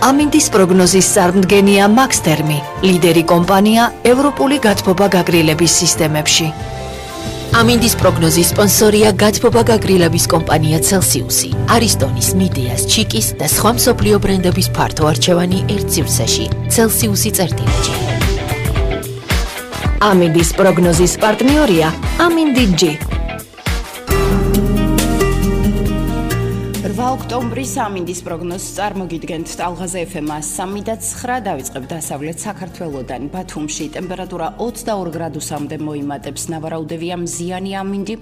ამინდის პროგნოზის წარმდგენია მაქსთერმი, ლიდერი კომპანია ევროპული გათბობა გაგრილების სისტემებში. ამინდის პროგნოზის სპონსორია გათბობა გაგრილების კომპანია Celsius-ი, არისტონის, მიდეას, ჩიკის და სხვა მსოფლიო ბრენდების ფართო არჩევანი ერთ სივრცეში. Celsius-ი წერტილები. ამინდის პროგნოზის პარტნიორია ამინდი-G. 8 ოქტომბრის ამინდის პროგნოზს წარმოგიდგენთ ტალღაზე FM-ს 3:09 დავიწყებთ დასავლეთ საქართველოდან. ბათუმში ტემპერატურა 22 გრადუსამდე მოიმატებს, ნავარაუდევია მზიანი ამინდი.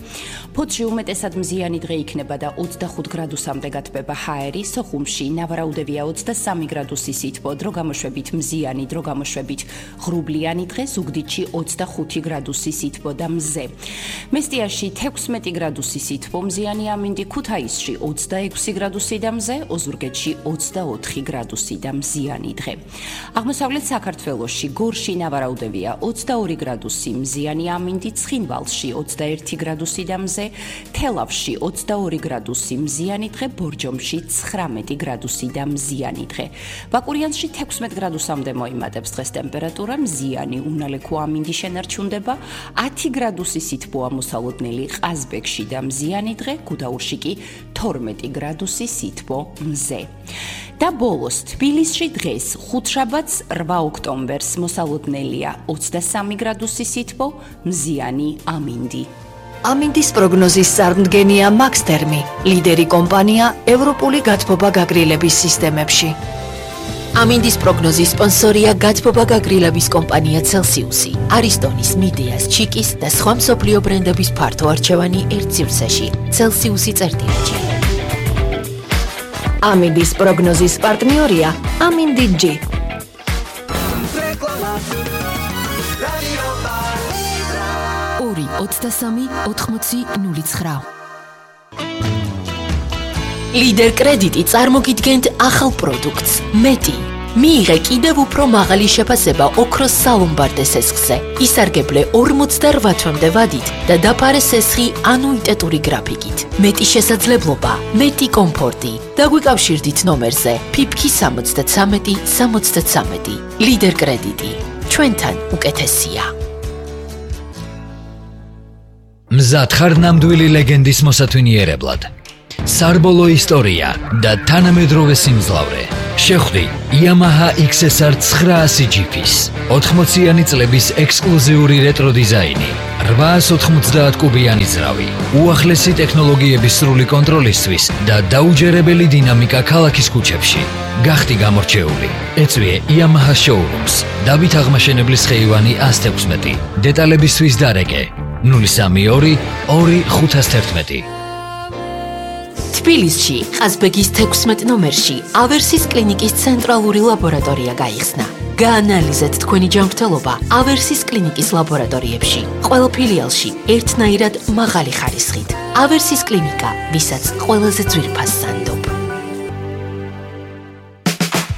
ფოთში უმეტესად მზიანი დღე იქნება და 25 გრადუსამდე გათბება ჰაერი. სოხუმში ნავარაუდევია 23 გრადუსი სითბო, დრო გამოშვებით მზიანი, დრო გამოშვებით ღრუბლიანი დღე, ზუგდიდში 25 გრადუსი სითბო და მზე. მესტიაში 16 გრადუსი სითბო, მზიანი ამინდი, ქუთაისში 26 გრადუსი და მზე, ოზურგეთში 24 გრადუსი და მზიანი დღე. აღმოსავლეთ საქართველოში გორში ნავარაუდევია 22 გრადუსი მზიანი ამინდი, ცხინვალში 21 გრადუსი და მზე, თელავში 22 გრადუსი მზიანი დღე, ბორჯომში 19 გრადუსი და მზიანი დღე. ბაკურიანში 16 გრადუსამდე მოიმატებს დღეს ტემპერატურა, მზიანი უნალექო ამინდი შენარჩუნდება, 10 გრადუსი სითბოა მოსალოდნელი ყაზბეგში და მზიანი დღე, გუდაურში კი 12 გრადუსი სითბო მზე. და ბოლოს თბილისში დღეს ხუთშაბათს 8 ოქტომბერს მოსალოდნელია 23 გრადუსი სითბო, მზიანი ამინდი. ამინდის პროგნოზის წარმდგენია მაქსთერმი, ლიდერი კომპანია ევროპული გათბობა გაგრილების სისტემებში. ამინდის პროგნოზის სპონსორია გათბობა გაგრილების კომპანია Celsius-ი, არისტონის, მიდეას, ჩიკის და სხვა მსოფლიო ბრენდების ფართო არჩევანი ერთ სივრცეში. Celsius-ი წერტილები. ამინდის პროგნოზის პარტნიორია ამინდი-G. 2-23-80-09. ლიდერ კრედიტი წარმოგიდგენთ ახალ პროდუქტს, მეტი. მიიღე კიდევ უფრო მაღალი შეფასება ოქროს სალომბარდე სესხზე. ისარგებლე 48 თვემდე ვადით და დაფარე სესხი ანუიტეტური გრაფიკით. მეტი შესაძლებლობა, მეტი კომფორტი. დაგვიკავშირდით ნომერზე PIPK 73 73. ლიდერ კრედიტი. ჩვენთან უკეთესია. მზად ხარ ნამდვილი ლეგენდის მოსათვინიერებლად. სარბოლო ისტორია და თანამედროვე სიმძლავრე. შეხვდი Yamaha XSR 900 GP-ს. 80-იანი წლების ექსკლუზიური რეტრო დიზაინი, 890 კუბიანი ძრავი, უახლესი ტექნოლოგიების სრული კონტროლისთვის და დაუჯერებელი დინამიკა ქალაქის ქუჩებში. გახდი გამორჩეული. ეწვიე Yamaha showrooms. დავით აღმაშენებლის ხეივანი 116. დეტალებისთვის დარეკე 032 2511. თბილისში, ყაზბეგის 16 ნომერში, ავერსის კლინიკის ცენტრალური ლაბორატორია გაიხსნა. გაანალიზეთ თქვენი ჯანმრთელობა ავერსის კლინიკის ლაბორატორიებში. ყველა ფილიალში ერთნაირად მაღალი ხარისხით. ავერსის კლინიკა, ვისაც ყველაზე ძვირფას სანდობ.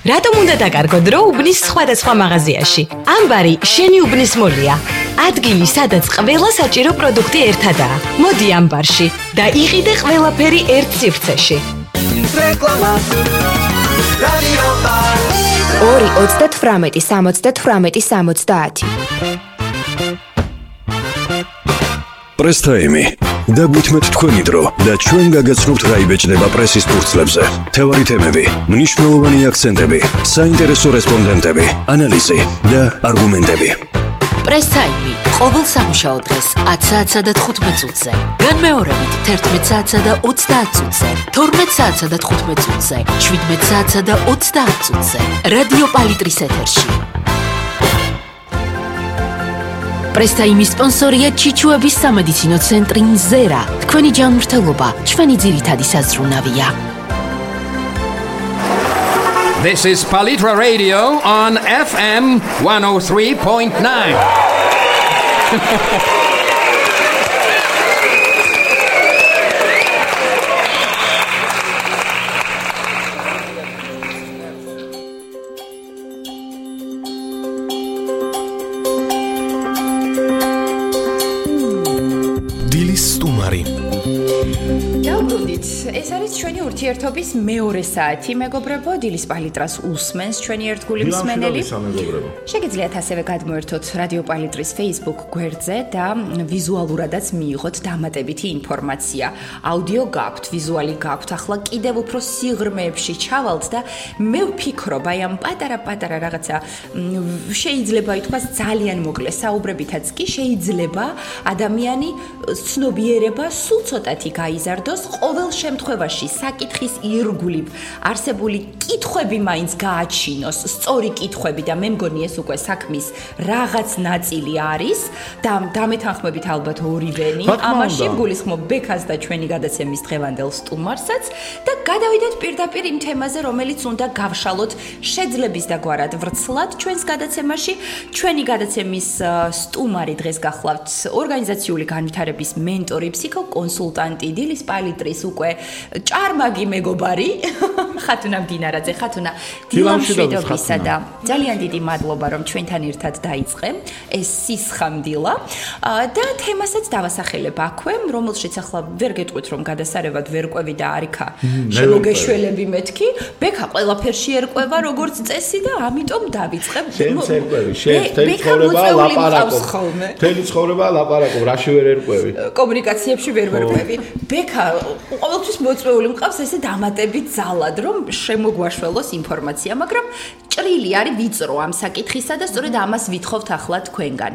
რატომ უნდა დაკარგო დრო უბნის სხვადასხვა მაღაზიაში? ამბარი შენი უბნის მოლია. ადგილი, სადაც ყველა საჭირო პროდუქტი ერთადაა. მოდი ამბარში და იყიდე ყველაფერი ერთ სივრცეში. 2-38-78-70. პრესთაიმი. დაგვითმეთ თქვენი დრო და ჩვენ გაგაცნობთ რა იბეჭდება პრესის ფურცლებზე. თევარი თემები, მნიშვნელოვანი აქცენტები, საინტერესო რესპონდენტები, ანალიზი და არგუმენტები. პრესთაიმი ყოველ სამუშაო დღეს 10 საათსა და 15 წუთზე. განმეორებით 11 საათსა და 30 წუთზე, 12 საათსა და 15 წუთზე, 17 საათსა და 30 წუთზე. რადიო პალიტრის ეთერში. პრესთაიმის სპონსორია ჩიჩუების სამედიცინო ცენტრი მზერა. თქვენი ჯანმრთელობა ჩვენი ძირითადი საზრუნავია. This is Palitra Radio on FM 103.9. დაუბრუნდით, ეს არის ჩვენი ურთიერთობის მეორე საათი, მეგობრებო, დილის პალიტრას უსმენს ჩვენი ერთგული მსმენელი. შეგიძლიათ ასევე გადმოერთოთ რადიო პალიტრის Facebook გვერდზე და ვიზუალურადაც მიიღოთ დამატებითი ინფორმაცია. აუდიო გაქვთ, ვიზუალი გაქვთ, ახლა კიდევ უფრო სიღრმეებში ჩავალთ და მე ვფიქრობ, აი ამ პატარა რაღაცა შეიძლება ითქვას ძალიან მოკლე საუბრებითაც კი შეიძლება ადამიანი ცნობიერება სულ ცოტათი გაიზარდოს, ყოველ შემთხვევაში საკითხის ირგვლივ არსებული კითხვები მაინც გააჩინოს, სწორი კითხვები და მე მგონი ეს უკვე საქმის რაღაც ნაწილი არის და დამეთანხმებით ალბათ ორივენი ამაში გულისხმობ ბექას და ჩვენი გადაცემის დღევანდელ სტუმარსაც და გადავიდეთ პირდაპირ იმ თემაზე, რომელიც უნდა გავშალოთ შეძლების და გვარად ვრცლად ჩვენს გადაცემაში. ჩვენი გადაცემის სტუმარი დღეს გახლავთ ორგანიზაციული განვითარების მენტორი, ფსიქოკონსულტანტი, დილის პალიტრის უკვე ჭარმაგი მეგობარი ხათუნა მდინარაძე. ხათუნა, დილამშვიდობისა და ძალიან დიდი მადლობა რომ ჩვენთან ერთად დაიწყე ეს სისხამდილა და თემასაც დავასახელებ აქვე, რომელშიც ახლა ვერ გეტყვით რომ გადასარევად ვერ ყვევი და არიქა შემოგეშველები მეთქი. ბექა ყველაფერში ერკვევა როგორც წესი და ამიტომ დავიწყებ. შენც ერკვევი, შენ თელი ცხოვრება ლაპარაკობ, რაში ვერ ერკვევი? კომუნიკაციებში ვერ ვერკვევი. ბექა ყოველთვის მოწვეული მყავს ესე დამატებით ძალად, რომ შემოგვაშველოს ინფორმაცია, მაგრამ ჭრილი არის ვიწრო ამ საკითხისა და სწორედ ამას ვითხოვთ ახლა თქვენგან.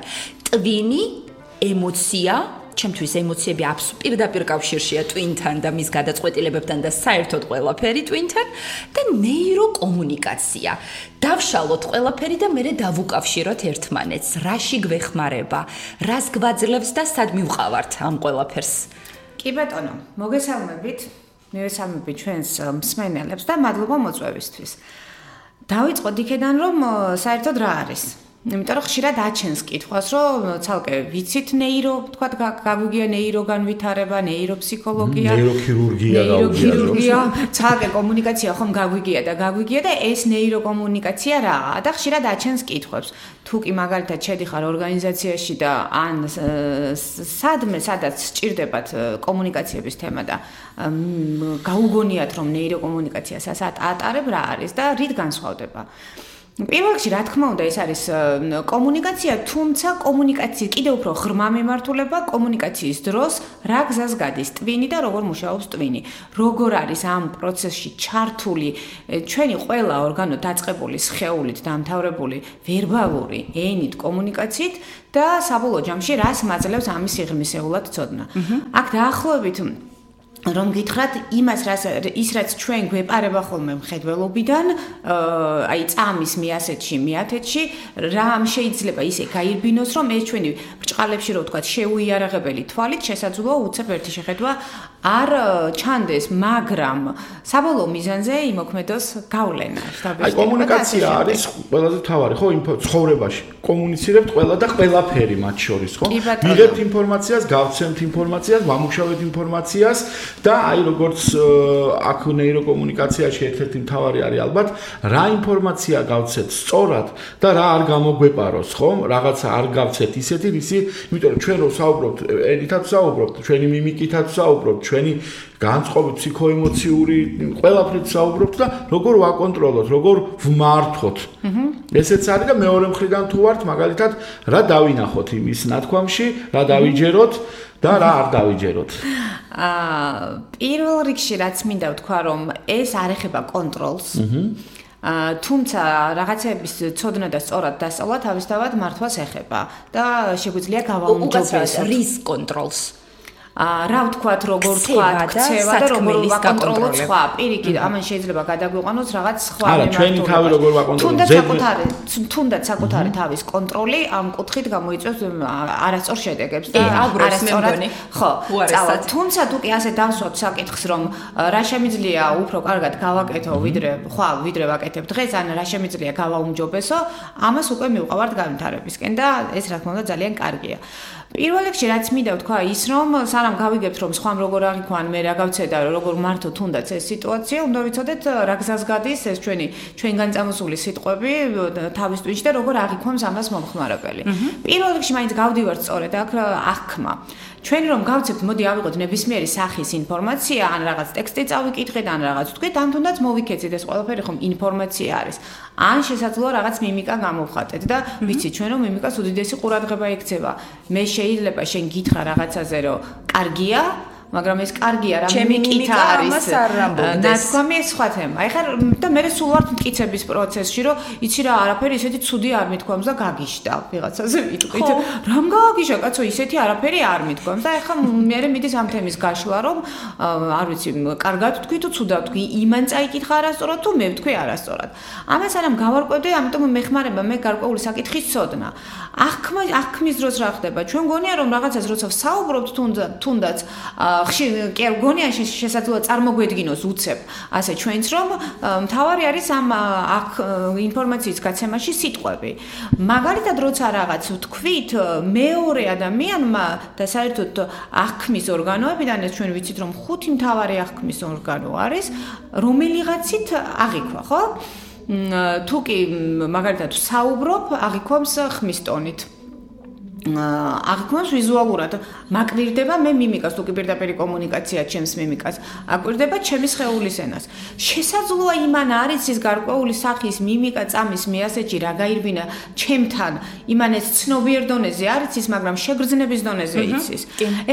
ტვინი, ემოცია, ჩემთვის ემოციები პირდაპირ კავშირშია ტვინთან და მის გადაწყვეტილებებთან და საერთოდ ყველაფერი ტვინთან და ნეიროკომუნიკაცია. დავშალოთ ყველაფერი და მერე დავუკავშიროთ ერთმანეთს. რაში გვეხმარება, რას გვაძლევს და სად მივყავართ ამ ყველაფერს? კი ბატონო, მოგესალმებით. მივესალმებით ჩვენს მსმენელებს და მადლობა მოწვევისთვის. დავიწყოთ იქედან რომ საერთოდ რა არის. იმიტომ რომ ხშირად აჩენს კითხვას, რომ ცალკე ვიცით ნეირო, თქვა გაგვიგია ნეიროგანვითარება, ნეიროფსიქოლოგია, ნეიროქირურგია, ცალკე კომუნიკაცია ხომ გაგვიგია და ეს ნეიროკომუნიკაცია რაა? და ხშირად აჩენს კითხვებს. თუ კი მაგალითად შედიხარ ორგანიზაციაში და ან სადაც სჭირდებათ კომუნიკაციების თემა და გაუგონიათ რომ ნეიროკომუნიკაციას ატარებ რა არის და რით განსხვავდება? პირველ რიგში რა თქმა უნდა ეს არის კომუნიკაცია, თუმცა კომუნიკაციის კიდევ უფრო ღრმა მიმართულება კომუნიკაციის დროს რა გზას გადის ტვინი და როგორ მუშაობს ტვინი. როგორ არის ამ პროცესში ჩართული ჩვენი ყველა ორგანო დაწყებული სხეულით დამთავრებული ვერბალური ენით კომუნიკაციით და საბოლოო ჯამში რას მაძლევს ამის სიღრმისეულად ცოდნა. აქ დაახლოებით რომ გითხრათ იმას რაც ჩვენ გვეპარება ხოლმე მხედველობიდან, აი წამის მიასეთში, მიათეთში, რამ შეიძლება ისე გაირბინოს, რომ ეს ჩვენი ბრჭყალებში რო ვთქვათ, შეუიარაღებელი თვალით შესაძლოა უცებ ერთი შეხედვა არ ჩანდეს, მაგრამ საბოლოო მიზანზე იმოქმედოს გავლენა. აი კომუნიკაცია არის ყველაზე მთავარი, ხო, ცხოვრებაში. კომუნიცირებთ ყველა და ყველაფერი მათ შორის, ხო? მიღებთ ინფორმაციას, გავცემთ ინფორმაციას, ვამუშავებთ ინფორმაციას და აი როგორც აქ ნეიროკომუნიკაციაში ერთ-ერთი მთავარი არის ალბათ რა ინფორმაცია გავცეთ სწორად და რა არ გამოგვეპაროს, ხო? რაღაცა არ გავცეთ ისეთი, ვისი, იმიტომ რომ ჩვენ რო საუბრობთ, ენითაც საუბრობთ, ჩვენი მიმიკითაც საუბრობთ, ჩვენი განწყობით ფსიქოემოციური ყველაფრით საუბრობთ და როგორ ვაკონტროლოთ, როგორ ვმართოთ. ესეც არის და მეორე მხრიდან თუ ვართ, მაგალითად, რა დავინახოთ იმის ნათქვამში, რა დავიჯეროთ და რა არ დავიჯეროთ. პირველ რიგში რაც მინდა ვთქვა, რომ ეს არ ეხება კონტროლს. თუმცა რაღაცების ცოდნა და სწორად დასწავლა თავისთავად მართვას ეხება და შეგვიძლია გავაუმჯობესოთ რის კონტროლს. რა ვთქვათ, როგორ ვთქვათ, ქცევა და როგორ ვაკონტროლოთ სხვა. პირიქით, ამან შეიძლება გადაგვიყვანოს რაღაც სხვა არა, ჩვენი თავი როგორ ვაკონტროლოთ. თუნდაც საკუთარი თავის კონტროლი ამ კუთხით გამოიწვევს არასწორ შედეგებს და არასწორად. ხო, წავად. თუმცა თუ კი ასე დავსვათ საკითხს, რომ რა შემიძლია უფრო კარგად გავაკეთო, ვიდრე ვაკეთებ დღეს, ან რა შემიძლია გავაუმჯობესო, ამას უკვე მივყავართ განვითარებისკენ და ეს რა თქმა უნდა ძალიან კარგია. პირველ რიგში რაც მინდა ვთქვა ის, რომ სანამ გავიგებთ რომ სხვამ როგორ აღიქვან მე რა გავცედა როგორ მართო თუნდაც ეს სიტუაცია უნდა ვიცოდეთ რა გზას გადის ეს ჩვენგან წამოსული სიტყვები თავის ტვინში და როგორ აღიქვამს ამას მომხმარებელი პირველ რიგში მაინც გავდივართ სწორედ აქ აღქმა ჩვენ რომ გავცებთ მოდი ავიღოთ ნებისმიერი სახის ინფორმაცია ან რაღაც ტექსტი წავიკითხეთ ან რაღაც თქვით ან თუნდაც მოვიქეცით ეს ყველაფერი ხომ ინფორმაცია არის ან შესაძლოა რაღაც მიმიკა გამოვხატეთ და ვიცით ჩვენ რომ მიმიკას უდიდესი ყურადღება ექცევა მე შეიძლება შენ გითხრა რაღაცაზე რომ კარგია მაგრამ ეს კარგია რა მიმიკით არის ნათქვამი ეს სხვა თემა ეხლა და მე სულ ვარ მტკიცების პროცესში რომ იცი რა არაფერი ისეთი ცუდი არ მithქვამს და გაგიშდა ვიღაცაზე ვიტყვით რამ გაგიშა კაცო ისეთი არაფერი არ მithქვამს და ეხლა მე მიდის ამ თემის გაშლა რომ არ ვიცი კარგად თქვი თუ ცუდად თქვი იმან წაიკითხა არასწორად თუ მე ვთქვი არასწორად ამას არამ გავარკვევდი ამიტომ მეხმარება მე გარკვეული საკითხის ცოდნა აღქმის დროს რა ხდება ჩვენ გონია რომ რაღაცას როცა ვსაუბრობთ თუნდაც კი არ გონია შესაძლოა წარმოგვედგინოს უცებ ასე ჩვენც რომ მთავარი არის ამ ინფორმაციის გაცემაში სიტყვები მაგალითად როცა რაღაც ვთქვით მეორე ადამიანმა და საერთოდ აღქმის ორგანოებიდან ეს ჩვენ ვიცით რომ 5 მთავარი აღქმის ორგანო არის რომელიღაცით აღიქვა ხო თუ კი მაგალითად საუბრობ აღიქვამს ხმის ტონით აღიქვამს ვიზუალურად მაკვირდება მე მიმიკას თუ კი პირდაპირ კომუნიკაცია ჩემს მიმიკას აკვირდება ჩემის სხეულის ენას შესაძლოა იმან არის ის გარკვეული სახის მიმიკა წამის მე ასეთი რა გაირბინა ჩემთან იმან ეს ცნობიერ დონეზე არის ის მაგრამ შეგრძნების დონეზე იცის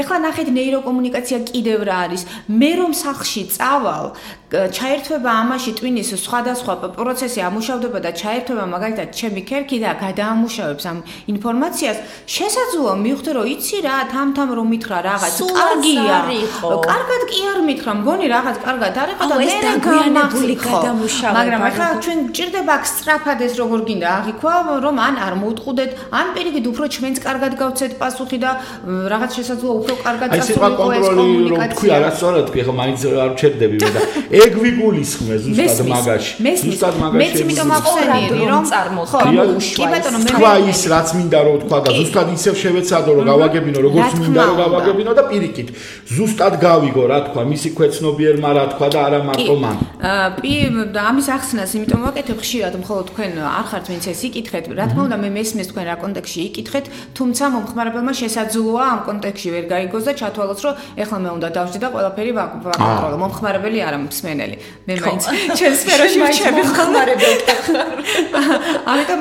ეხლა ნახეთ ნეიროკომუნიკაცია კიდევ რა არის მე რომ სახლში წავალ ჩაერთვება ამაში ტვინის სხვადასხვა პროცესი ამუშავდება და ჩაერთვება მაგალითად ჩემი ქერქი და გადაამუშავებს ამ ინფორმაციას შესაძლოა მივხვდე რომ იცი რა თამთამ რომ მითხრა რაღაც კარგია კარგად კი არ მითხრა მგონი რაღაც კარგად არ იყო და მე გამახსოვდი გადამუშავება მაგრამ ახლა ჩვენ ჭირდება აქ სწრაფად ეს როგორ გინდა აღიქვა რომ ან არ მოუტყუდეთ ან პირიქით უფრო ჩვენც კარგად გავცეთ პასუხი და რაღაც შესაძლოა უფრო კარგად წასულიყო ეს კომუნიკაცია რომ თქვი არასწორად თქვი ახლა მაინც არ ვჩერდები მე და ეგ ვიგულისხმე ზუსტად მაგაში ზუსტად მაგაში მეც იმიტომ ახსენიერი რომ ხო კი ბატონო მე თქვა ის რაც მინდა რომ თქვა და ზუსტად ისევ შევეცადო რომ გავაგებინო როგორც მინდა რომ გავაგებინო და პირიქით ზუსტად გავიგო რა თქვა მისი ქვეცნობიერმა რა თქვა და არა მარტო მან და ამის ახსნას იმიტომ ვაკეთებ ხშირად მხოლოდ თქვენ არ ხართ ვინც ეს იკითხეთ რა თქმა უნდა მე მესმის თქვენ რა კონტექსში იკითხეთ თუმცა მომხმარებელმა შესაძლოა ამ კონტექსში ვერ გაიგოს და ჩათვალოს რომ ეხლა მე უნდა დავжди და ყველაფერი ვაკონტროლო მომხმარებელი არა მსმენელი მე მაინც ჩემ სფეროში ვჩები მომხმარებელს ამიტომ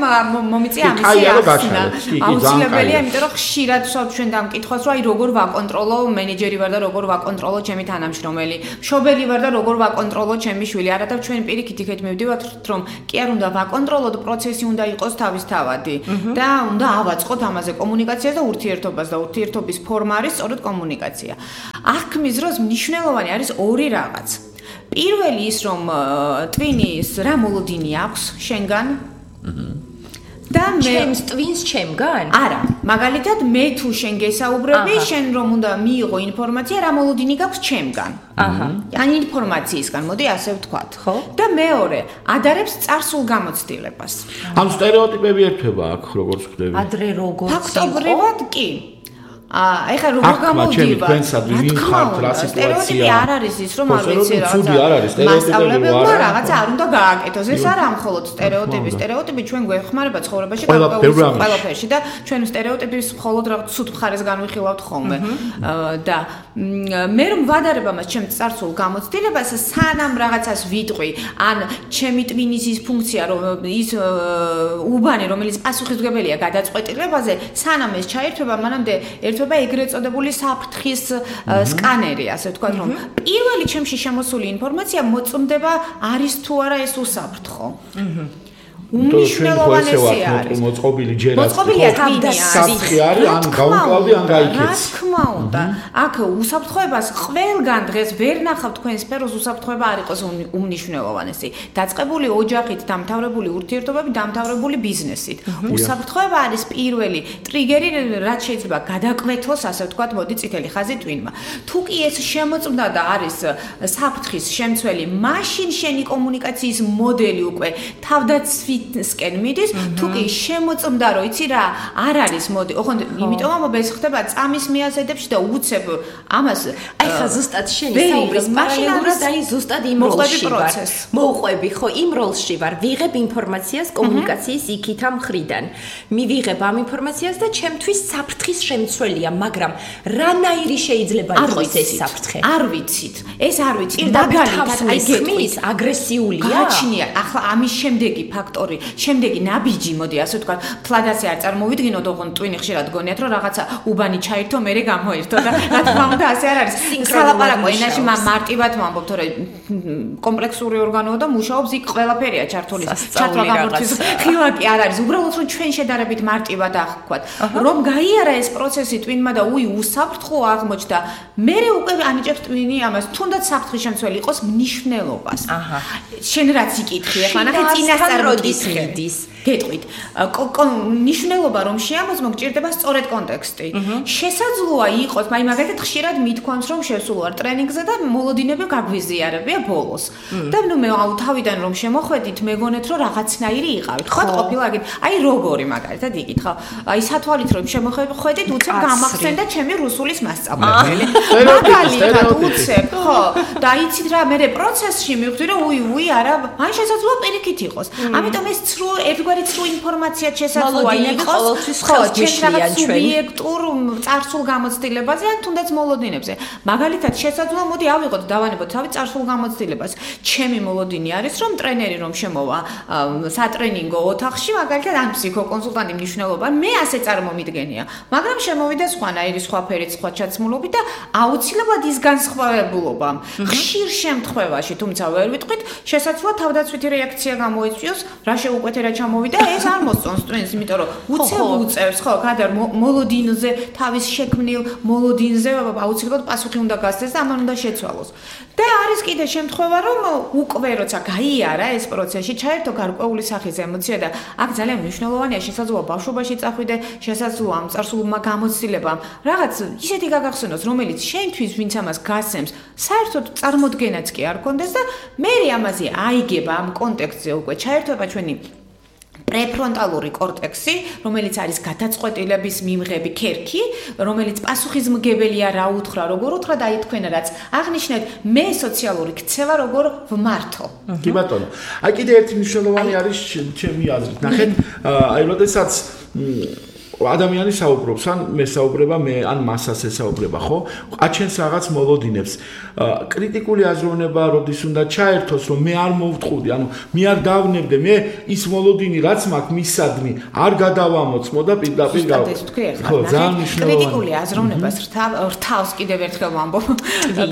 მომიწია ამისი ახსნა აუცილებელია იმიტომ რომ ხშირად ვსვავთ ჩვენ დამკითხვას რომ აი როგორ ვაკონტროლო მენეჯერი ვარ და როგორ ვაკონტროლო ჩემი თანამშრომელი მშობელი ვარ და როგორ ვაკონტროლო ჩემი შვილი არა და ჩვენ პირიქით იქეთ მივდივართ რომ კი არ უნდა ვაკონტროლოთ პროცესი უნდა იყოს თავისთავადი და უნდა ავაწყოთ ამაზე კომუნიკაციას და ურთიერთობას და ურთიერთობის ფორმა არის სწორედ კომუნიკაცია აღქმის დროს მნიშვნელოვანი არის ორი რაღაც პირველი ის რომ ტვინის რა მოლოდინი აქვს შენგან და მე ჩემს ტვინს ჩემგან? არა, მაგალითად მე თუ შენ გესაუბრები, შენ რომ უნდა მიიღო ინფორმაცია, რა მოლოდინი გაქვს ჩემგან. აჰა. ან ინფორმაციისგან, მოდი ასე ვთქვათ. ხო? და მეორე, ადარებს წარსულ გამოცდილებას. ამ სტერეოტიპები ერთვება აქ როგორც ხდები. ადრე როგორც იყო? ფაქტობრივად კი. ეხლა როგორ გამოვდივარ? ვინ ხართ რა სიტუაცია? სტერეოტიპი არ არის ის რომ არ ვიცი რა. ცუდი არ არის სტერეოტიპები არა. რაღაცა არ უნდა გააკეთოს. ეს არა მხოლოდ სტერეოტიპი. სტერეოტიპი ჩვენ გვეხმარება ცხოვრებაში ყველაფერში და ჩვენ სტერეოტიპის მხოლოდ რაღაც ცუდ მხარეს განვიხილავთ ხოლმე. და მე რომ ვადარებ ამას ჩემ წარსულ გამოცდილებას, სანამ რაღაცას ვიტყვი, ან ჩემი ტვინის ის ფუნქცია, რომ ის უბანი, რომელიც პასუხისმგებელია გადაწყვეტილებაზე, სანამ ეს ჩაერთვება, მანამდე ერთვება ეგრეთ წოდებული საფრთხის სკანერი, ასე ვთქვათ, რომ პირველი ჩემში შემოსული ინფორმაცია მოწმდება არის თუ არა ეს უსაფრთხო. უმნიშვნელოვანესი არის. მოწყობილი ჯერაც. მოწყობილია საფრთხე არის, ან გაუკლავდი, ან გაიქეცი. რა თქმა უნდა. აქ უსაფრთხოებას ყველგან დღეს ვერ ნახავთ თქვენ სფეროს უსაფრთხოება არ იყოს უმნიშვნელოვანესი. დაწყებული ოჯახით, დამთავრებული ურთიერთობები, დამთავრებული ბიზნესით. უსაფრთხოება არის პირველი ტრიგერი, რაც შეიძლება გადაკვეთოს, ასე ვთქვათ, მოდი წითელი ხაზი ტვინმა. თუ კი ეს შემოწმდა და არის საფრთხის შემცველი, მაშინ შენი კომუნიკაციის მოდელი უკვე თავდაც მისვისკენ მიდის, თუ კი შემოწმდა რომ იცი რა, არ არის მოდი. ოღონდ იმიტომ ამბობ ეს ხდება წამის მიაზედებში და უცებ ამას აი ხა ზუსტად შენი საუბრის პარალელურად აი ზუსტად იმ როლში ვარ. მოვყვები ხო იმ როლში ვარ, ვიღებ ინფორმაციას კომუნიკაციის იქითა მხრიდან. მივიღებ ამ ინფორმაციას და ჩემთვის საფრთხის შემცველია, მაგრამ რანაირი შეიძლება იყოს ეს საფრთხე? არ ვიცით. ეს არ ვიცით. მაგალითად აი გეტყვის აგრესიულია. გაჩნია. ახლა ამის შემდეგი ფაქტორი, შემდეგი ნაბიჯი, მოდი ასე ვთქვა, ფლადასე არ წარმოვიდგინოთ, ოღონდ ტვინი ხშირად გონიათ, რომ რაღაცა უბანი ჩაირთო, მერე გამოირთო და რა თქმა უნდა ასე არ არის. სალაპარაკო ენაში მარტივად ვამბობ, თორე კომპლექსური ორგანოა და მუშაობს იქ ყველაფერია ჩართული. ჩათვლა გამორთვის ხილაკი არ არის. უბრალოდ რომ ჩვენ შედარებით მარტივად აღქვათ, რომ გაიარა ეს პროცესი ტვინმა და უსაფრთხო აღმოჩნდა, მერე უკვე ანიჭებს ტვინი ამას, თუნდაც საფრთხის შემცველი იყოს მნიშვნელობას. შენ რაც იკითხე, ახლა ნახე წინასწარ როდის მიდის. გეტყვით. ნიშნულობა რომ შეამოწმო გჭირდება სწორედ კონტექსტი. შესაძლოა იყოს, მაგალითად ხშირად მithქვამს რომ შესულ ვარ ტრენინგზე და მოლოდინები გაგვიზიარებია ბოლოს. და მე თავიდან რომ შემოხვედით, მეგონეთ რომ რაღაცნაირი იყავით. ხო ყოფილა აგით. აი როგორი მაგალითად იკითხავ. აი სათვალით რომ შემოხვედით, უცებ გამახსენდა ჩემი რუსულის მასწავლებელი. მაგალითად უცებ, ხო. და იცით რა, მე პროცესში მივხვდი რომ არა, ან შესაძლოა პირიქით იყოს. ამიტომ ეს ცრუ ერთგვარი ცრუ ინფორმაცია შესაძლოა იყოს, ხო, ჩვენ რაღაც სუბიექტურ წარსულ გამოცდილებაზე ან თუნდაც მოლოდინებზე. მაგალითად შესაძლოა მოდი ავიღოთ დავანებოთ თავი წარსულ გამოცდილებას. ჩემი მოლოდინი არის რომ ტრენერი რომ შემოვა სატრენინგო ოთახში, მაგალითად ან ფსიქოკონსულტანტი მნიშვნელობა, მე ასე წარმომიდგენია. მაგრამ შემოვიდა სხვანაირი სხვა ფერით, სხვა ჩაცმულობით და აუცილებლად ის განსხვავებულობა. ხშირ შემთხვევაში, თუმცა ვერ ვიტყვით, შესაძლოა თავდაცვითი რეაქცია გამოიწვიოს, რა შეუკვეთე რა ჩამოვიდა და ეს არ მოსწონს ტრენს, იმიტომ რომ უცებ უწევს, ხო, გადარ მოლოდინზე, თავის შექმნილ მოლოდინზე აუცილებლად პასუხი უნდა გასცეს და ამან უნდა შეცვალოს. და არის კიდე შემთხვევა, რომ უკვე როცა გაიარა ეს პროცესი, ჩაერთო გარკვეული სახის ემოცია და აქ ძალიან მნიშვნელოვანია, შესაძლოა ბავშვობაში წახვიდე, შესაძლოა ამ წარსულმა გამოცდილებამ რაღაც ისეთი გაგახსენოს, რომელიც შენთვის ვინც ამას გასცემს, საერთოდ წარმოდგენაც კი არ კონდეს და მე ამაზე აიგება ამ კონტექსტზე უკვე ჩაერთვება ჩვენი პრეფრონტალური კორტექსი, რომელიც არის გადაწყვეტილების მიმღები ქერქი, რომელიც პასუხისმგებელია რა უთხრა, როგორ უთხრა და აი თქვენ რაც აღნიშნეთ, მე სოციალური ქცევა როგორ ვმართო. კი ბატონო. აი კიდე ერთი მნიშვნელოვანი არის ჩემი აზრით. ნახეთ, აი როდესაც ადამიანი საუბრობს, ან მე საუბრება, ან მასას ესაუბრება, ხო? აჩენს რაღაც მოლოდინებს. კრიტიკული აზროვნება როდის უნდა ჩაერთოს, რომ მე არ მოვთხოვდი, ანუ მე არ დავნებდე, მე ის მოლოდინი რაც მაქვს მისადმი, არ გადავამოწმო და პირდაპირ ხო, ძალიან მნიშვნელოვანია. კრიტიკული აზროვნებას რთავს კიდევ ერთხელ ვამბობ.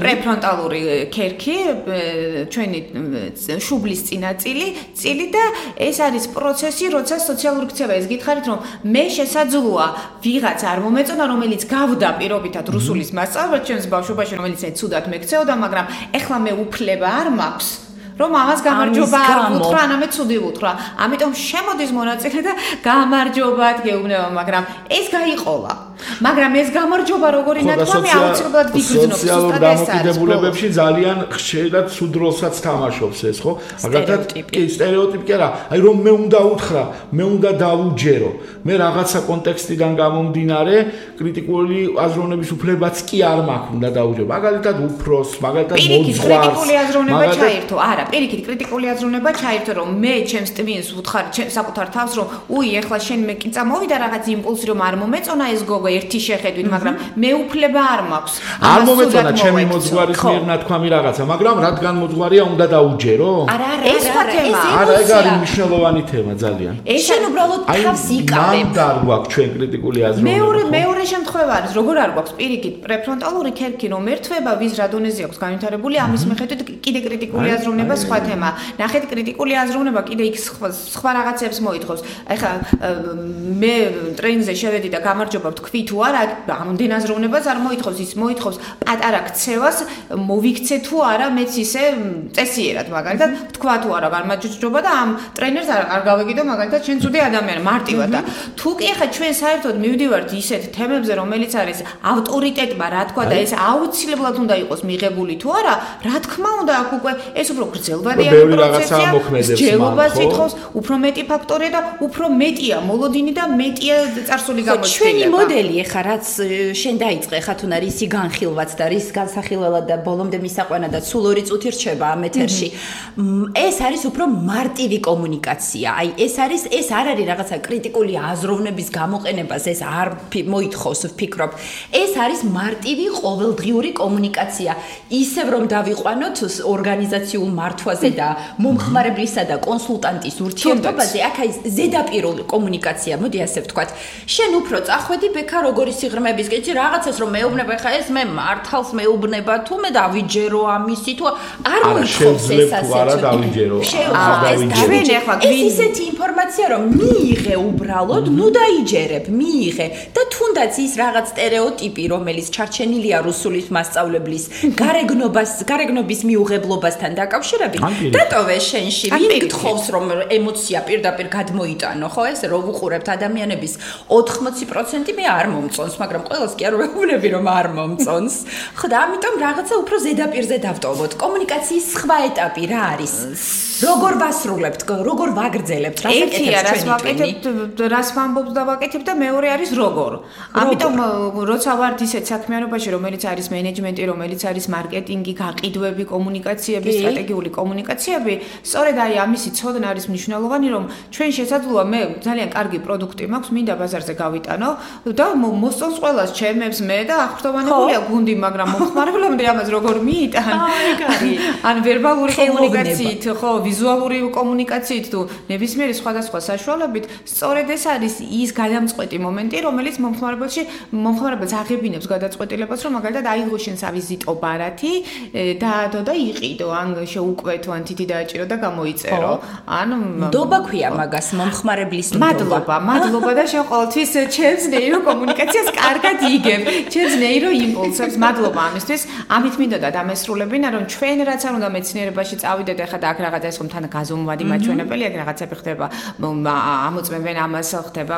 პრეფრონტალური ქერქი, ჩვენი შუბლის წინაწილი და ეს არის პროცესი, როცა სოციალური ქცევა ეს გითხარით, რომ მე შესაძლოა ვიღაც არ მომეწონა, რომელიც გავდა პირობითად რუსულის მასწავლებლად ჩემს ბავშვობაში, რომელიც ცუდად მეკცეოდა, მაგრამ ეხლა მე უფლება არ მაქვს რომ ამას გამარჯობა არ ვუთხრა, ანამე ცუდი ვუთხრა. ამიტომ შემოდის მონაწილე და გამარჯობათ გეუბნება, მაგრამ ეს გაიყოლა. მაგრამ ეს გამარჯობა როგორი ნათქვამი აუცილებლად ვიგრძნობ სოციალურ დამოკიდებულებებში ძალიან ხშირად ცუდ როლსაც თამაშობს ეს, ხო? მაგალითად, კი, სტერეოტიპი არა, აი რომ მე უნდა უთხრა, მე უნდა დავუჯერო. მე რაღაცა კონტექსტიდან გამომდინარე, კრიტიკული აზროვნების უფლებაც კი არ მაქვს, უნდა დავუჯერო. მაგალითად, უფროს, მაგალითად, მოძღვარს. კრიტიკული აზროვნება ჩაერთო. არა, პირიქით კრიტიკული აზროვნება ჩაერთო, რომ მე ჩემს ტვინს ვუთხარ საკუთარ თავს, რომ ეხლა შენ მე კი წამოვიდა რაღაც იმპულსი, რომ არ მომეწონა ეს გოგო ერთი შეხედვით, მაგრამ მე უფლება არ მაქვს. არ მომეწონა ჩემი მოძღვარის მიერ ნათქვამი რაღაცა, მაგრამ რადგან მოძღვარია უნდა დაუჯერო? არა, ეს სხვა თემა. არა, ეგ არის მნიშვნელოვანი თემა ძალიან. შენ უბრალოდ თავს იკავებ. მანდ არ გვაქვს ჩვენ კრიტიკული აზროვნება. მეორე შემთხვევა არის, როგორ არ გვაქვს პირიქით პრეფრონტალური ქერქი რომ ერთვება ვის რა დონეზე აქვს განვითარებული, ამის მიხედვით კიდე კრიტიკული აზროვნება სხვა თემა. ნახეთ, კრიტიკული აზროვნება კიდე იქ სხვა რაღაცებს მოითხოვს. ეხლა მე ტრენინგზე შევედი და გამარჯობა ვთქვი თქვი თუ არა, ამდენ აზროვნებას არ მოითხოვს, ის მოითხოვს პატარა ქცევას, მოვიქცე თუ არა, მეც ისე წესიერად, მაგალითად, თქვა თუ არა, გამაჯჯობა და ამ ტრენერს არ გავეკიდო, მაგალითად, შენ ცუდი ადამიანი, მარტივად და თუ კი ახლა ჩვენ საერთოდ მივდივართ ისეთ თემებზე, რომელიც არის ავტორიტეტმა, რა თქვა და ეს აუცილებლად უნდა იყოს მიღებული თუ არა, რა თქმა უნდა, აქ უკვე ეს უფრო გრძელვადიანი პროცესია, მსჯელობას ითხოვს, უფრო მეტი ფაქტორია და უფრო მეტია მოლოდინი და მეტია წარსული გამოჩვენება. ჩვენი მოდელი ახლა რაც შენ დაიწყე, ხა თუ არის ისი განხილვაც და რის განსახილველად და ბოლომდე მისაყვანა და სულ 2 წუთი რჩება ამ ეთერში. ეს არის უფრო მარტივი კომუნიკაცია. აი ეს არ არის რაღაცა კრიტიკული აზროვნების გამოყენებას, ეს არ მოითხოვს ვფიქრობ. ეს არის მარტივი ყოველდღიური კომუნიკაცია. ისევ რომ დავიყვანოთ ორგანიზაციულ მართვაზე და მომხმარებლისა და კონსულტანტის ურთიერთობაზე, აქ აი ზედაპირული კომუნიკაცია, მოდი ასე ვთქვათ. შენ უფრო წახვედი ბექა როგორი სიღრმების კეჭი რაღაცას რომ მეუბნება, ხა ეს მე მართალს მეუბნება თუ მე დავიჯერო ამისი თუ არ მოითხოვს ეს ასე. არა დავიჯერო. ეს ისეთი ინფორმაცია რომ მიიღე უბრალოდ, ნუ დაიჯერებ, მიიღე და თუნდაც ის რაღაც სტერეოტიპი რომელიც ჩარჩენილია რუსულის მასწავლებლის გარეგნობის მიუღებლობასთან დაკავშირებით, დატოვე შენში. ვინ გთხოვს რომ ემოცია პირდაპირ გადმოიტანო, ხო ეს რო ვუყურებთ ადამიანების 80% მე არ მომწონს, მაგრამ ყველას კი არ ვეუბნები რომ არ მომწონს. ხო და ამიტომ რაღაცა უფრო ზედაპირზე დავტოვოთ. კომუნიკაციის სხვა ეტაპი რა არის? როგორ ვასრულებთ, როგორ ვაგრძელებთ, რას ვამბობთ და ვაკეთებ და მეორე არის როგორ. ამიტომ როცა ვართ ისეთ საქმიანობაში, რომელიც არის მენეჯმენტი, რომელიც არის მარკეტინგი, გაყიდვები, კომუნიკაციები, სტრატეგიული კომუნიკაციები, სწორედ აი ამისი ცოდნა არის მნიშვნელოვანი, რომ ჩვენ შესაძლოა მე ძალიან კარგი პროდუქტი მაქვს, მინდა ბაზარზე გავიტანო და მოსწონს ყველას ჩემებს მე და აღფრთოვანებულია გუნდი, მაგრამ მომხმარებლამდე ამას როგორ მიიტან? ან ვერბალური კომუნიკაციით, ხო, ვიზუალური კომუნიკაციით თუ ნებისმიერი სხვადასხვა საშუალებით, სწორედ ეს არის ის გადამწყვეტი მომენტი, რომელიც მომხმარებელს აღებინებს გადაწყვეტილებას, რომ მაგალითად აიღო შენ სავიზიტო ბარათი, დაადო და იყიდო, ან შეუკვეთო, ან თითი დააჭირო და გამოიწერო. ან ნდობა ქვია მაგას, მომხმარებლის ნდობა. მადლობა და შენ ყოველთვის ჩემს ნეირო კომუნიკაციას კარგად იგებ, ჩემს ნეირო იმპულსებს. მადლობა ამისთვის. ამით მინდოდა დამესრულებინა, რომ ჩვენ რაც არ უნდა მეცნიერებაში წავიდეთ, ახლა და აქ რაღაცა ეს რომ თან გაზომვადი მაჩვენებელი, აქ რაღაცები ხდება, ამოწმებენ ამას, ხდება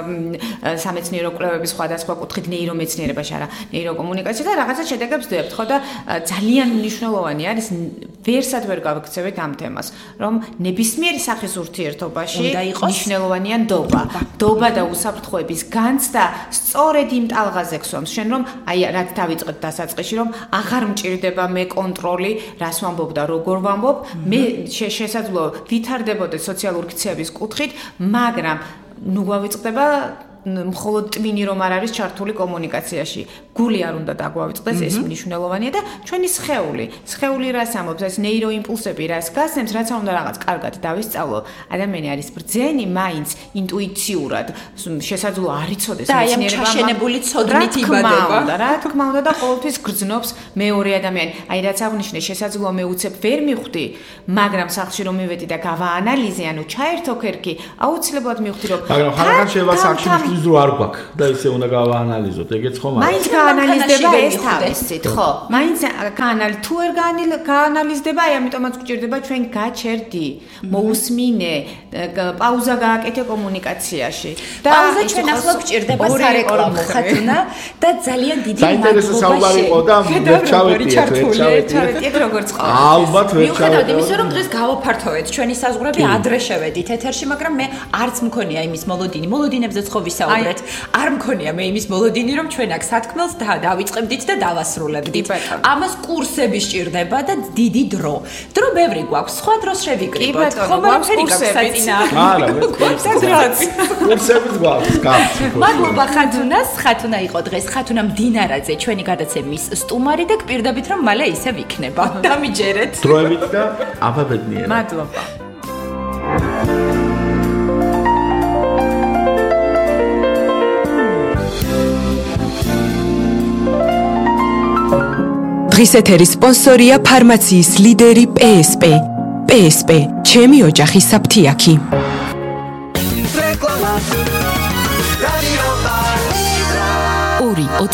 სამეცნიერო კვლევების სხვადასხვა კუთხით ნეირომეცნიერებაში, არა ნეიროკომუნიკაცია და რაღაცა შედეგებს ვდებთ, ხო და ძალიან მნიშვნელოვანი არის ვერსად ვერ გავიქცევით ამ თემას, რომ ნებისმიერი სახის ურთიერთობაში მნიშვნელოვანია ნდობა. ნდობა და უსაფრთხოების განცდა სწორედ იმ ტალღაზე გსვამს შენ, რომ აი რაც დავიწყეთ დასაწყისში, რომ აღარ მჭირდება მე კონტროლი, რას ვამბობ და როგორ ვამბობ, მე შესაძლოა ვითარდებოდეს სოციალური ქცევის კუთხით, მაგრამ ნუ გავიწყდება მხოლოდ ტვინი რომ არ არის ჩართული კომუნიკაციაში. გული არ უნდა დაგვავიწყდეს, ეს მნიშვნელოვანია და ჩვენი სხეული რას ამბობს, ეს ნეიროიმპულსები რას გასცემს, რაც არ უნდა რაღაც კარგად დავისწავლო. ადამიანი არის ბრძენი, მაინც ინტუიციურად შესაძლოა არ იცოდეს მეცნიერება. და ჩაშენებული ცოდნით იბადება. რა თქმა უნდა და ყოველთვის გრძნობს მეორე ადამიანი. აი რაც აღნიშნე, შესაძლოა მე უცებ ვერ მივხვდი, მაგრამ სახლში რომ მივედი და გავაანალიზე, ანუ ჩაერთო ქერქი, აუცილებლად მივხვდი რომ მაგრამ ხალხთან შევა სახლში მისთვის არ გვაქვს და ისე უნდა გავაანალიზოთ, ეგეც ხომ არის? მაინც გაანალიზდება ეს თავისით, ხო. მაინც თუ ვერ გაანალიზდება, აი ამიტომაც გვჭირდება ჩვენ გაჩერდი, მოусმინე, პაუზა გააკეთე კომუნიკაციაში. პაუზა ჩვენ ახლა გვჭირდება სარეკლამო ხათუნა და ძალიან დიდი საინტერესო საუბარი იყო და ვერ ჩავეტიეთ როგორც ხო. ალბათ ვერ ჩავეტიეთ. იმის რომ დღეს გავაფართოვეთ ჩვენი საზღვრები ადრე შევედით ეთერში, მაგრამ მე არც მქონია იმის მოლოდინებზეც ხო ვისაუბრეთ. არ მქონია მე იმის მოლოდინი, რომ ჩვენ აქ სათქმელს დავიწყებდით და დავასრულებდით. ამას კურსები სჭირდება და დიდი დრო. დრო ბევრი გვაქვს, სხვა დროს შევიკრიბოთ. ხომ არ გვაქვს არა, კურსებიც გვაქვს. მადლობა ხათუნას, ხათუნა იყო დღეს, ხათუნა მდინარაძე, ჩვენი გადაცემის სტუმარი და გპირდებით რომ მალე ისე ვიქნება. დამიჯერეთ. დროებით და აბაბედნიერად. მადლობა. დღის ეთერის სპონსორია ფარმაციის ლიდერი PSP. PSP, ჩემი ოჯახის საფთიაქი.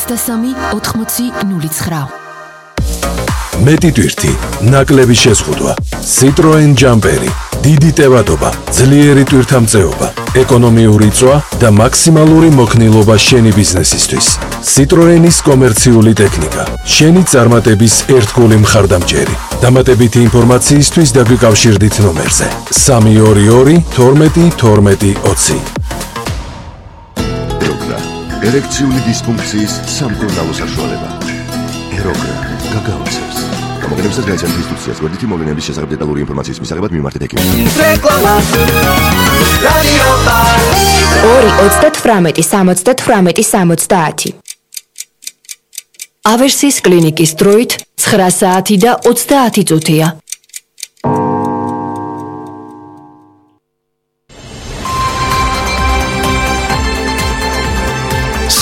23 80 09. მეტი ტვირთი, ნაკლები შეზღუდვა, Citroen Jumperi, დიდი ტევადობა, ძლიერი ტვირთამწეობა, ეკონომიური წვა და მაქსიმალური მოქნილობა შენი ბიზნესისთვის. Citroenis კომერციული ტექნიკა, შენი წარმატების ერთგული მხარდამჭერი. დამატებითი ინფორმაციისთვის დაგვიკავშირდით ნომერზე 322 12 12 20. ეროგრა, ერექციული დისფუნქციის სამკურნალო საშუალება. ეროგრა, გაგაოცებს. გამოგონებისას გაიცანთ ინსტრუქციას, გვერდითი მოვლენების შესახებ დეტალური ინფორმაციის მისაღებად მიმართეთ ექიმს. რეკლამა. რადიო პალი 2 98 70 ავერსის კლინიკის დროით 9 საათი და 30 წუთია.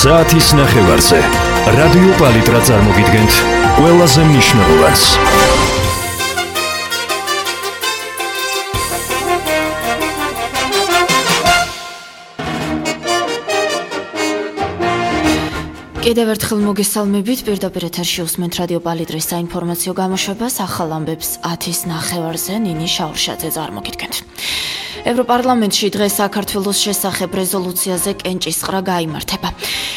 საათის ნახევარზე რადიო პალიტრა წარმოგიდგენთ ყველაზე მნიშვნელოვანს. კიდევ ერთხელ მოგესალმებით, პირდაპირ ეთერში უსმენთ რადიო პალიტრის საინფორმაციო გამოშვებას, ახალ ამბებს 10-ის ნახევარზე ნინი შაურშაძე წარმოგიდგენთ. ევროპარლამენტში დღეს საქართველოს შესახებ რეზოლუციაზე კენჭისყრა გაიმართება.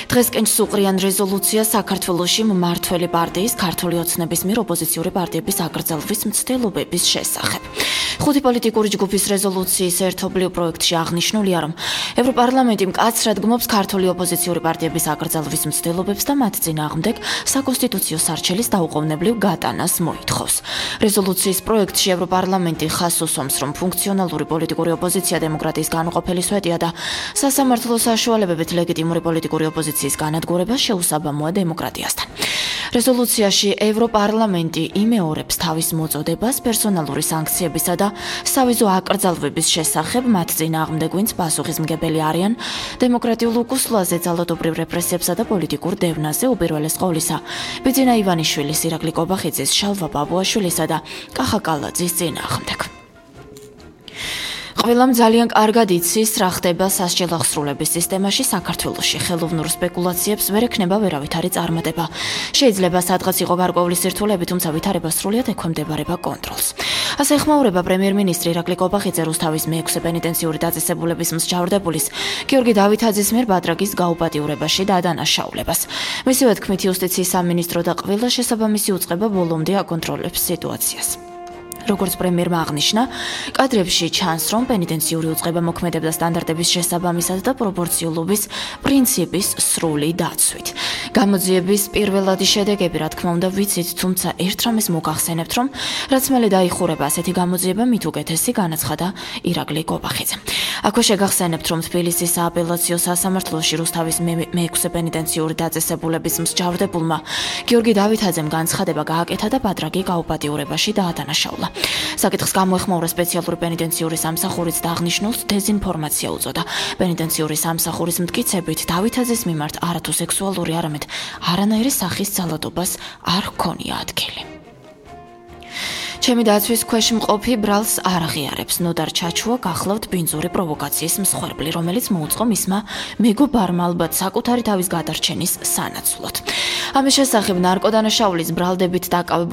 დღეს კენჭს უყრიან რეზოლუცია საქართველოში მმართველი პარტიის ქართული ოცნების მიერ ოპოზიციური პარტიების აკრძალვის მცდელობების შესახებ. 5 პოლიტიკური ჯგუფის რეზოლუციის ერთობლივ პროექტში აღნიშნულია, რომ ევროპარლამენტი მკაცრად გმობს ქართული ოპოზიციური პარტიების აკრძალვის მცდელობებს და მათ წინააღმდეგ საკონსტიტუციო სარჩელის დაუყოვნებლივ გატანას მოითხოვს. რეზოლუციის პროექტში ევროპარლამენტი ხაზს უსვამს, რომ ფუნქციონალური პოლიტიკური ოპოზიცია დემოკრატიის განუყოფელი სვეტია და სასამართლო საშუალებებით ლეგიტიმური პოლიტიკური ოპოზიციის განადგურება შეუსაბამოა დემოკრატიასთან. რეზოლუციაში ევროპარლამენტი იმეორებს თავის მოწოდებას პერსონალური სანქციებისა და სავიზო აკრძალვების შესახებ მათ წინააღმდეგ, ვინც პასუხისმგებელი არიან დემოკრატიულ უკუსლაზე, ძალადობრივ რეპრესიებსა და პოლიტიკურ დევნაზე, უპირველეს ყოვლისა ბიძინა ივანიშვილის, ირაკლი კობახიძის, შალვა ბაბუაშვილისა და კახა კალაძის წინააღმდეგ. ყველამ ძალიან კარგად იცის, რა ხდება სასჯელ აღსრულების სისტემაში საქართველოში. ხელოვნურ სპეკულაციებს ვერ ექნება ვერავითარი წარმატება. შეიძლება სადღაც იყო გარკვეული სირთულეები, თუმცა ვითარება სრულიად ექვემდებარება კონტროლს. ასე ეხმაურება პრემიერ-მინისტრი ირაკლი კობახიძე რუსთავის მე-6 პენიტენციური დაწესებულების მსჯავრდებულის გიორგი დავითაძის მიერ ბადრაგის გაუპატიურებაში დადანაშაულებას. მისივე თქმით, იუსტიციის სამინისტრო და ყველა შესაბამისი უწყება ბოლომდე აკონტროლებს სიტუაციას. როგორც პრემიერმა აღნიშნა, კადრებში ჩანს, რომ პენიტენციური უწყება მოქმედებდა სტანდარტების შესაბამისად და პროპორციულობის პრინციპის სრული დაცვით. გამოძიების პირველადი შედეგები, რა თქმა უნდა, ვიცით, თუმცა ერთ რამეს მოგახსენებთ, რომ რაც მალე დაიხურება ასეთი გამოძიება, მით უკეთესი განაცხადა ირაკლი კობახიძე. აქვე შეგახსენებთ, რომ თბილისის სააპელაციო სასამართლოში რუსთავის მე-6 პენიტენციური დაწესებულების მსჯავრდებულმა გიორგი დავითაძემ განცხადება გააკეთა და ბადრაგი გაუპატიურებაში დაადანაშაულა. საკითხს გამოეხმაურა სპეციალური პენიტენციური სამსახურიც და აღნიშნულს დეზინფორმაცია უწოდა. პენიტენციური სამსახურის მტკიცებით დავითაძის მიმართ არათუ სექსუალური, არამედ არანაირი სახის ძალადობას არ ჰქონია ადგილი. ჩემი დაცვის ქვეშ მყოფი ბრალს არ აღიარებს. ნოდარ ჩაჩუა გახლავთ ბინძური პროვოკაციის მსხვერპლი, რომელიც მოუწყო მისმა მეგობარმა ალბათ საკუთარი თავის გადარჩენის სანაცვლოდ. ამის შესახებ ნარკოდანაშაულის ბრალდებით დაკავებული